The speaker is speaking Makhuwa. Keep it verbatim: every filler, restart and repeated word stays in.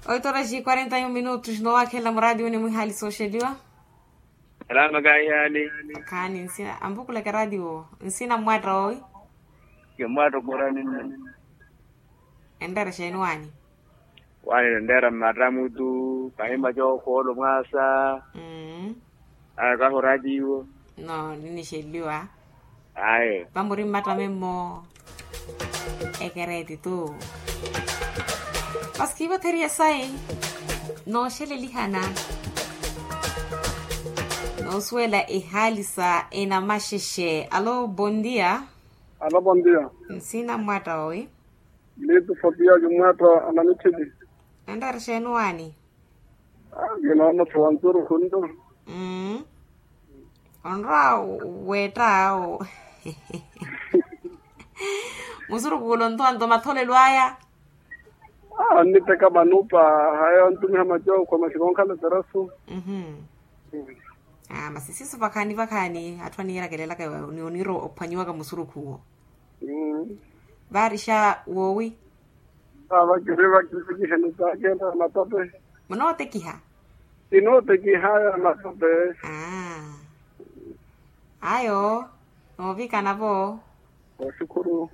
Oito horas e quarenta e um minutos, no wakhelela muradi wene mwihaali sooxeliwa. Salama kahihaali. Khaani nsina ampukulaka radio nsina mmwatta owi? Kimmwatta okorani nne. Enreera xeeni waani? Waani enreera mmatta mutu kahimwa cookhoolo mwaasa. Aya kahi oratiwo. No ninixeliwa. Aye. Vamuri mmatta memmo. Ekereeti tu. Masi kiivatheriya sayi. Nooxelelihana. Noosuwela ehaali sa enamaxexe alo bondia. Alo bondia. Nsina mmwatta owi? Litu fopia kimwatta anamichili. Enreera xeeni waani? Kinoona tho wansurukhu nto. Onrowa weetta awo. Musurukhu ulo nto anto matholelo aya. Onniteka manupa haya ontumiha macookho maxikonkhala terasu. Masi siiso vakhaani vakhaani atthu aniirakelelaka ni oniira ophwanyiwaka musurukhu uwo. Vaarixa woowi? Vava kiri vakiri kiheni saakenta matope. Munootekiha? Kinooteki haya matope. Ayo noovikana vo. Oxukhuru.